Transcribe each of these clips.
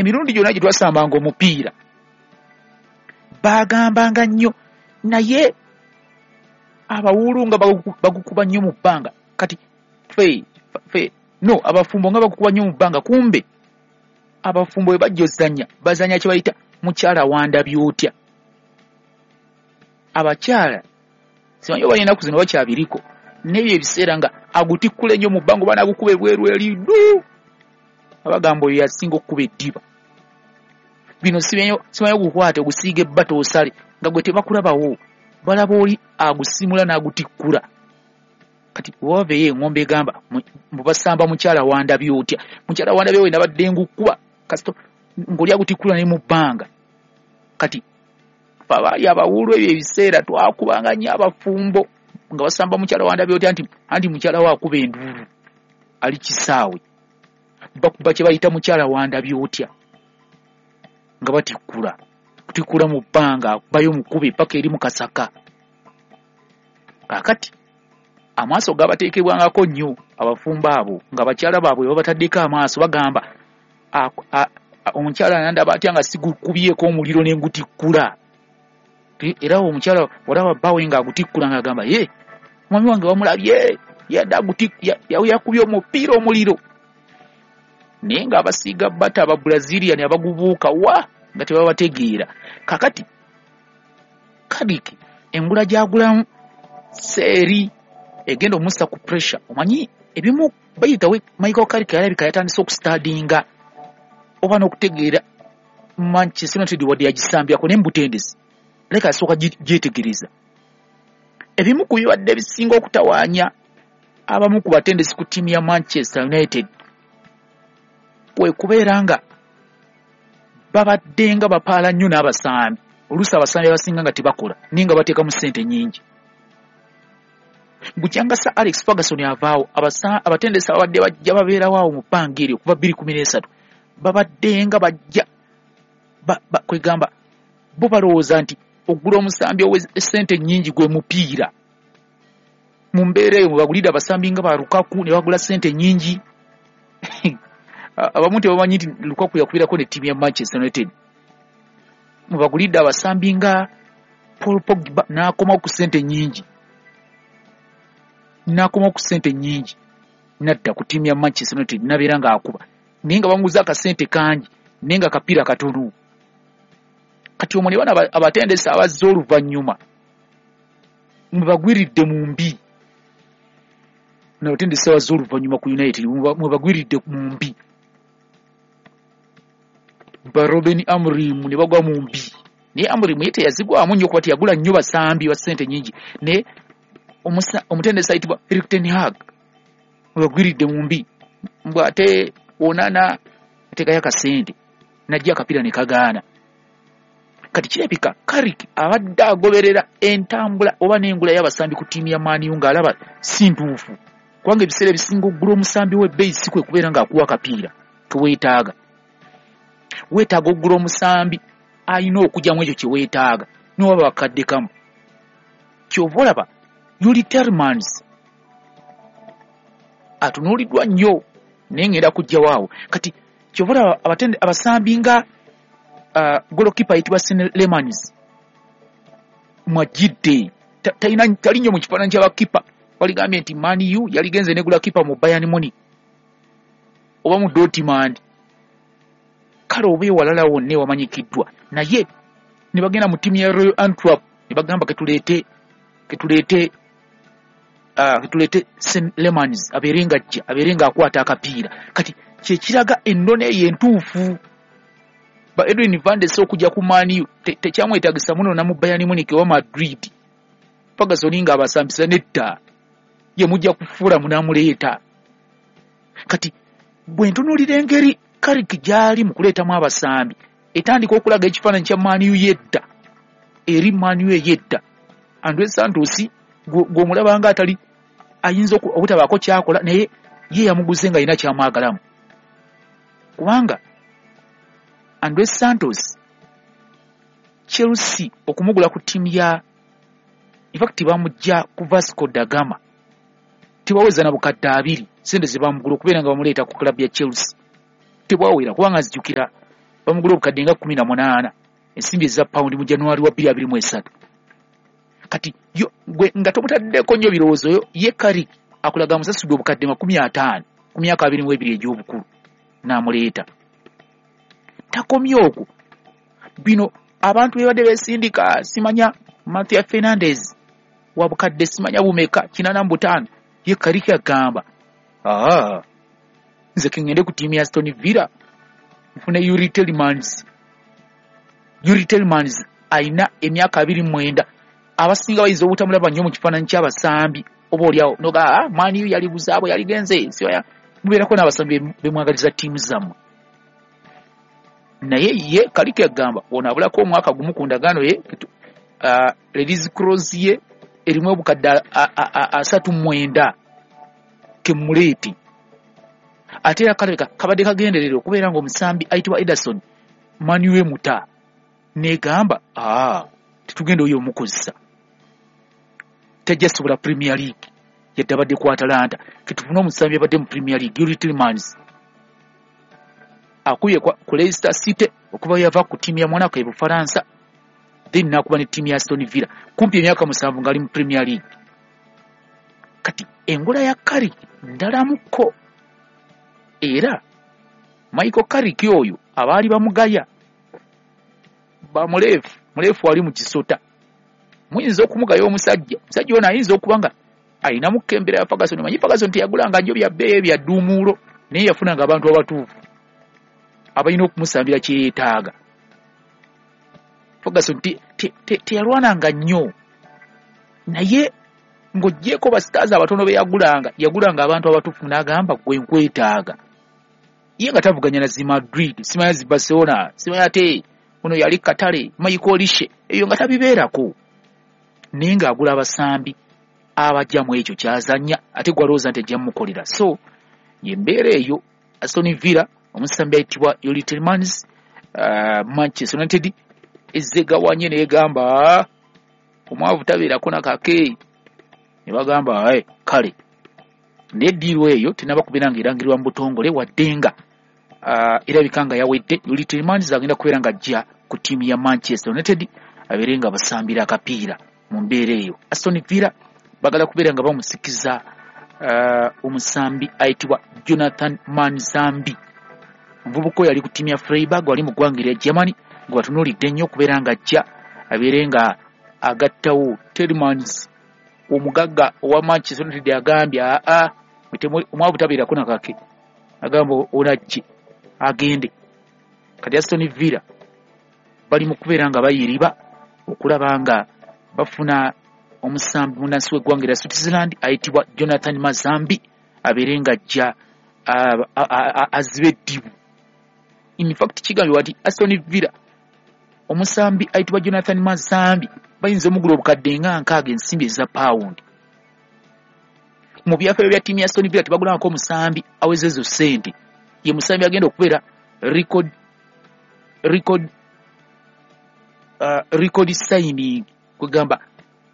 Emirundi gyonna gye twasambanga omupiira bagambanga nnyo, naye abawuulu nga bagukuba nnyo mu bbanga. Kati fe no abafumbo nga bagukuba nnyo mu bbanga, kumbe abafumbo bwe bajja ozannya bazannya kye bayita mukyala wandabye otya. Abakyala simanyi oba ennaku zino bakyabiriko, n'ebyo ebiseera nga agutikkula ennyo mu bbanga oba n'agukuba ebweru eri ddu, abagamba oyo yasinga okukuba eddiba. Bino simanyi ogukwate ogusiiga ebbata osale nga gwe tebakulabawo, balaba oli agusimula n'agutikkula. Kati waveeyo eŋŋombe egamba mbu basamba mukyala wandabye otya, mukyala wandabye we nabadde ngukuba kasito ng'oli agutikkula ne mu bbanga. Kati ffe abaali abawuulu ebyo ebiseera twakubanga nnyo abafumbo nga basamba mukyala wandabye otya nti anti mukyala we akuba enduulu ali kisaawe, bakuba kye bayita mukyala wandabye otya nga batikkula kutikkula mu bbanga, akubayo mukube paka eri mu kasaka. Kaakati amaaso gabateekebwangako nnyo abafumbo abo nga bakyala baabwe babataddeko amaaso, bagamba omukyala nandaba atya nga sigukubyeko omuliro ne ngutikkula. Era omukyala olaba bbaawe ng'agutikkula ng'agamba ye mwami wange wamulabye yadde yakubye omupiira omuliro. Naye ng'abasiiga bata aba Brazilian abagubuuka wa nga tebabategeera. Kakati Carrick engula gy'agulamu seeri egenda omussa ku pressure. Omanyi ebimu bayitawe Michael Carrick alabika yatandise okusitadinga oba n'okutegeera Manchester United wadde yagisambyako naye mu butendesi leka asooka gyetegereza. Ebimu ku bibadde ebisinga okutawaanya abamu ku batendesi ku ttiimu ya Manchester United kwe kubeera nga babadde nga bapaala nnyo n'abasambi. Oluusi abasambi abasinga nga tebakola naye nga bateekamu ssente nnyingi. Bukyanga Sir Alex Ferguson avaawo, abatendesi ababadde bajja babeerawo awo mu bbanga eryo okuva 2013 babadde nga bajja kwegamba bo balowooza nti ogula omusambi ow'essente nnyingi gwe mupiira. Mu mbeera eyo mwe bagulidde abasambi nga ba Lukaku ne bagula ssente nnyingi. Abamu tebamanyi nti Lukaku yakubirako ne ttiimu ya Manchester United. Mwe bagulidde abasambi nga Paul Pogba n'akomawo ku ssente nnyingi, n'akomawo ku ssente nnyingi n'adda ku ttiimu ya Manchester United n'abeera ng'akuba, naye nga bamuguza akasente kangi naye nga kapiira katono. Kati omwo ne bano abatendesi abazze oluvannyuma mwe bagwiridde mu mbi, n'abatendesi abazze oluvannyuma ku United mwe bagwiridde mu mbi, ba Ruben Amorim ne bagwa mu mbi. Naye Amorim ye teyazigwamu nnyo kuba teyagula nnyo basambi ba ssente nnyingi, naye omutendesi ayitibwa Erik ten Hag mwe bagwiridde mu mbi, mbw ate Onana ateekayo akasente n'ajja akapiira ne kagaana. Kati kirabika Carrick abadde agoberera entambula oba n'engula y'abasambi ku ttiimu ya Man U ng'alaba si ntuufu, kubanga ebiseera ebisinga okugula omusambi w'ebbeeyi si kwe kubeera ng'akuwa akapiira ke weetaaga. Weetaaga okugula omusambi alina okugyamu ekyo kye weetaaga n'oba bakadde kamu. Ky'ova olaba Yuri Tielemans atunuuliddwa nnyo naye ngenda kujjawo awo. Kati ky'ova olaba abasambi nga golokipa ayitibwa Senne Lammens mwajjidde tali nnyo mu kifaananyi ky'abakipa. Waligambye nti Man U yaligenze negula kipa mu Bayern Munich oba mu Dortmund, kale oba ewalala wonna ewamanyikiddwa, naye ne bagenda mu ttiimu ya Royal Antwerp ne bagamba ketuleete Senne Lammens abeere ng'ajja abeere ng'akwata akapiira. Kati kye kiraga ennono eyo entuufu. Ba Edwin van der Sar okujja ku Man U tekyamwetaagisa munona mu Bayern Munich oba Madrid. Ferguson ng'abasambisa nedda, ye mujja kufuula munaamuleeta. Kati bwe ntunuulira engeri Carrick gy'ali mu kuleetamu abasambi, etandika okulaga ekifaananyi kya Man U y'edda eri Man U ey'edda. Andre Santos gw'omulaba nga atali ayinza obutabaako ky'akola, naye ye yamuguze nga alina ky'amwagalamu, kubanga Andre Santos Chelsea okumugula ku ttiimu ya in fact bamujja ku Vasco da Gama tebaweza na bukadde 2 ssente ze bamugula okubeera nga bamuleeta ku club ya Chelsea tebwawera, kubanga nzijukira Bamugula obukadde nga 18 ensimbi eza pawundi mu January wa 2023. Kati yo gwe nga tomutaddeko nnyo birowoozo, yo ye Carrick akulaga musasudde obukadde 50 ku myaka 22 egy'obukulu n'amuleeta. Takomye okwo, bino abantu bebadde beesindika, simanya Matheus Fernandes wa bukadde simanya bumeka 85, ye Carrick agamba nze kengende ku ttiimu ya Aston Villa nfune Youri Tielemans. Youri Tielemans alina emyaka 29, abasinga bayinza obutamulaba nnyo mu kifaananyi ky'abasambi, oba oliawo noga Man U yali buzaabwe yaligenze, mubeerako n'abasambi bemwagaliza ttiimu zammwe. Naye ye Carrick agamba ono abulako omwaka gumu ku ndagaano ye, release clause ye erimu obukadde 39 kemuleeti. Ate era kalabika kabadde kagenderera okubeera ng'omusambi ayitibwa Ederson Man U emuta negamba tetugenda oyo omukozesa, tajja sobola Premier League yadde abadde ku Atalanta, ketufune omusambi abadde mu Premier League Youri Tielemans akubye ku Leicester City okuva yava ku ttiimu ya Monaco e Bufalansa, then n'akuba ne ttiimu ya Aston Villa kumpi emyaka 7 ng'ali mu Premier League. Kati engola ya Carrick ndalamuko, era Michael Carrick oyo abaali bamugaya bamuleefu muleefu ali mu kisota, muyinza okumugaya omusajja ono ayinza okuba nga alinamu kembera ya Ferguson. Manyi Ferguson teyagulanga nnyo bya bbeeyi bya dduumuulo, naye yafunanga abantu abatuufu abalina okumusambira kye yeetaaga. Ferguson teyalwananga nnyo, naye ng'oggyeko ba stars abatono be yagulanga, yagulanga abantu abatuufu n'agamba gwe nkwetaaga. Ye nga tavuganya na zi Madrid, simanya zi Barcelona, simanya ate ono yali Katale, Michael Olise, eyo nga tabibeerako, naye ng'agula abasambi abajja mu ekyo kyazannya ate gwalowooza nti ajja mmukolera. So y'embeera eyo. Aston Villa omusambi ayitibwa Youri Tielemans, Manchester United ezzegawanye n'egamba omwavu tabeerako nakake, ne bagamba kale. Naye eddiiro eyo tenaba kubeera ng'erangirirwa mu butongole, wadde nga erabika nga yawedde. Youri Tielemans agenda kubeera ng'ajja ku ttiimu ya Manchester United abeere nga basambira akapiira mu mbeera eyo. Aston Villa bagala kubeera nga bamusikiza omusambi ayitibwa Jonathan Manzambi, omuvubuka oyo ali ku ttiimu ya Freiburg wali mu ggwanga erya Germany, gwe batunuulidde nnyo okubeera ng'ajja abeere nga agattawo Tielemans. Omugagga owa Manchester United agambye omwavu tabeerako nakake, agamba onajje agende. Kati Aston Villa bali mu kubeera nga bayiriba okulaba nga bafuna omusambi munnansi w'eggwanga erya Switzerland ayitibwa Jonathan Mazambi abeere ng'ajja azibe eddibu. In fact kigambibwa nti Aston Villa omusambi ayitibwa Jonathan Mazambi bayinza omugula obukadde nga 60 ensimbi eza pawundi. Mu byafaayo bya ttiimu ya Aston Villa tebagulangako omusambi aweza ezo ssente. Ye musambi agenda okubeera record signing, kwegamba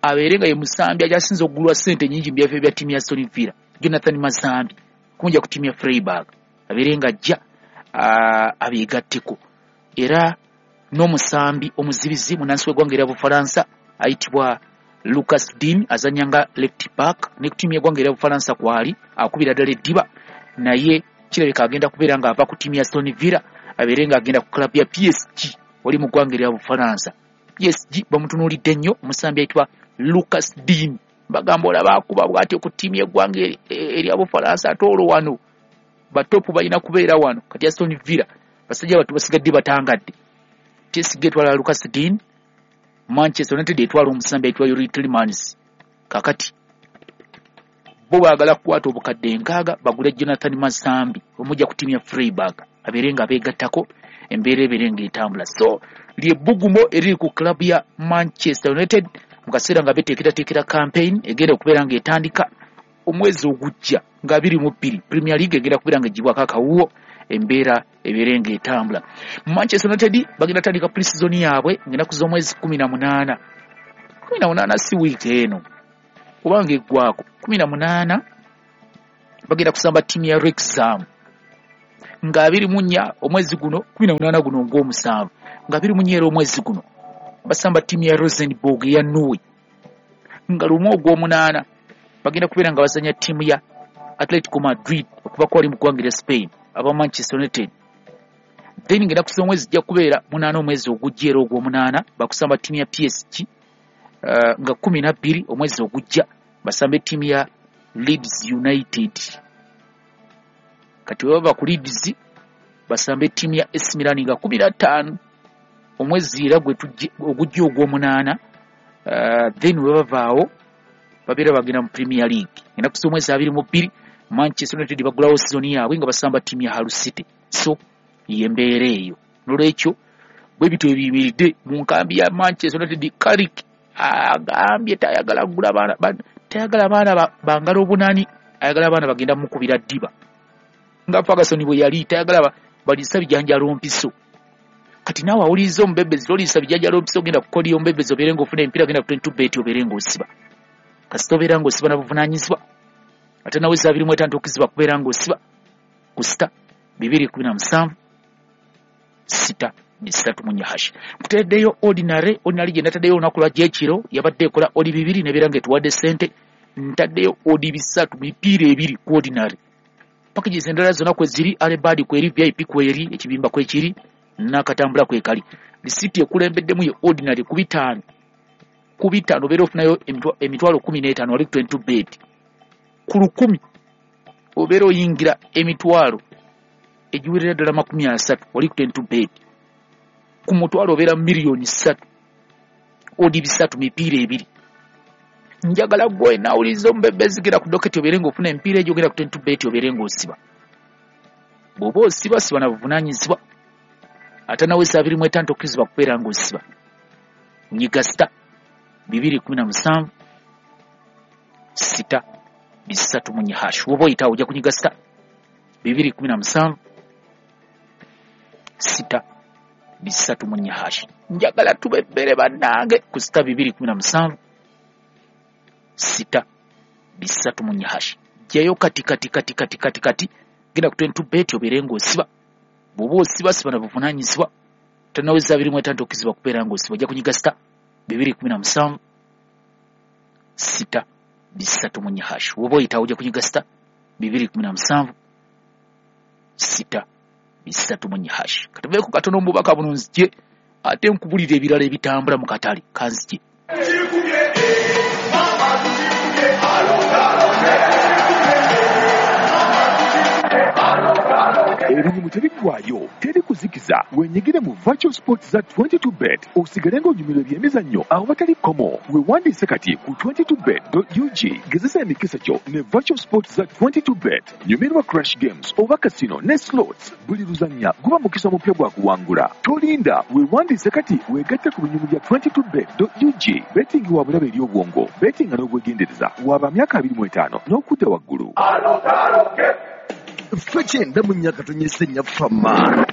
abeere nga ye musambi akyasinze okugulwa ssente nnyingi mu byafaayo bya ttiimu ya Aston Villa, Jonathan Mazambi kumujja ku ttiimu ya Freiburg abeere nga ajja abeegatteko. Era n'omusambi omuzibizi munnansi w'eggwanga erya Bufalansa ayitibwa Lucas Digne azannya nga left back ne ku ttiimu y'eggwanga erya Bufalansa kwali akubira ddala eddiba, naye kirabika agenda kubeera ng'ava ku ttiimu ya Aston Villa abeere ng'agenda ku club ya PSG wali mu ggwanga erya Bufalansa. PSG bamutunuulidde nnyo omusambi ayitibwa Lucas Digne, bagamba olaba akuba bw'atyo ku ttiimu y'eggwanga erya Bufalansa, ate olwo wano batopu balina kubeera wano. Kati Aston Villa basajja battu basigadde batangadde. PSG etwala Lucas Digne, Manchester United etwala omusambi ayitibwa Youri Tielemans. Kakati bo baagala kukwata obukadde 60 bagule Jonathan Mazambi omujja ku ttiimu ya Freiburg abeere nga beegattako, embeera ebeere ng'etambula. So lyebbugumo eriri ku club ya Manchester United mu kaseera nga beteekerateekera campaign egenda okubeera ng'etandika omwezi ogujja nga 22. Premier League egenda kubeera ng'eggyibwako akawuwo, embeera ebeere ng'etambula. Manchester United bagenda tandika pre-season yaabwe ng'ennaku z'omwezi 18. 18 si wiiki eno kubanga eggwako 18, bagenda kusamba ttiimu ya Wrexham. Nga 24 omwezi guno, 18 guno ng'omusanvu, nga 24 era omwezi guno basamba ttiimu ya Rosenborg eya Norway. Nga 1 ogw'omunaana bagenda kubeera nga bazanya ttiimu ya Atletico Madrid okuva kwali mu ggwanga erya Spain, aba Manchester United. Then ng'ennaku z'omwezi zijja kubeera 8 omwezi ogujja era ogw'omunaana bakusamba ttiimu ya PSG, nga 12 omwezi ogujja basambe ttiimu ya Leeds United. Kati bwe bava ku Leeds basambe ttiimu ya AC Milan nga 15 omwezi era ogujja ogw'omunaana. Then bwe bavaawo babeera bagenda mu Premier League. Ennaku z'omwezi 22 Manchester United bagulawo sizoni yaabwe nga basamba ttiimu ya Hull City. So ye mbeera eyo. Nolwekyo bwe bityo ebiyimiridde mu nkambi ya Manchester United. Carrick agambye tayagala kugula baana, tayagala abaana bangalo obunani, ayagala abaana bagenda mukubira ddiba nga Ferguson bwe yali, tayagala baliisa bijanjalo mpiso. Kati naawe awuliriza omubebezi, toliisa bijanjalo mpiso, ogenda kukolya omubebezi obeere ng'ofuna emipiira, genda ku 22 bet obeere ng'osiba. Kasita obeera ng'osiba na buvunaanyizibwa, ate nawe 25 okizibwa kubeera ng'osiba ku star 217 star 34 hash. Nkutereddeyo ordinary. Ordinary gye nataddeyo olunaku lwajja ekiro yabadde ekola odd 2 nebeera ng'etuwadde ssente. Ntaddeyo odd 3, mipiira ebiri ku ordinary. Packages endala zonna kwe ziri, alebad kweri, VIP kweri, ekibimba kwekiri, n'akatambula kwekali. Lisiti ekulembeddemu ye ordinary ku 5. Ku 5 obeera ofunayo 15,000 wali ku 22 bet. Ku 1,000 obeera oyingira emitwalo egiwerera ddala 30 wali ku 22 bet. Ku mutwalo obeera 3 million. Odd 3, mipiira ebiri. Njagala gwe nawuliriza omubebezi, genda ku doketi obeere ng'ofuna emipiira egyo, genda ku 22 bet obeere ng'osiba. Bw'oba osiba, siba na buvunaanyizibwa, ate nawe 25 tokkirizibwa kubeera ng'osiba. Nyiga star 217 star 34 hash. Woba oyitawo ojja kunyiga star 217 star 34 hash. Njagala tubebbere bannange ku star 217 star 34 hash. Jjayo kati kati kati kati kati kati, genda ku 22 bet obeere ng'osiba. Bw'oba osiba, siba na buvunaanyizibwa, tonaweza 25 tokkirizibwa kubeera ng'osiba. Ojja kunyiga star 217 star 34 hash. Woba oyitawo ojja kunyiga star 217 star 34 hash. Katuveeko katono mu bubaka buno, nzije ate nkubulira ebirala ebitambula mu katale. Kanzije. Ebinyumu tebiggwayo, teri kuzikiza. Wenyigire mu virtual sports za 22 bet, osigale ng'onyumirwa ebyemizannyo awo batali kkomo. Wewandiise kati ku 22bet.ug. Gezesa emikisa gyo ne virtual sports za 22 bet. Nyumirwa crash games oba casino ne slots. Buli luzannya guba mukisa mupya gwa kuwangula. Tolinda, wewandiise kati, weegatte ku binyumu bya 22bet.ug. Betting wa bulabe eri obwongo. Bettinga n'obwegendereza. Waba myaka 25 n'okudda waggulu. Ffe 94.4 fama.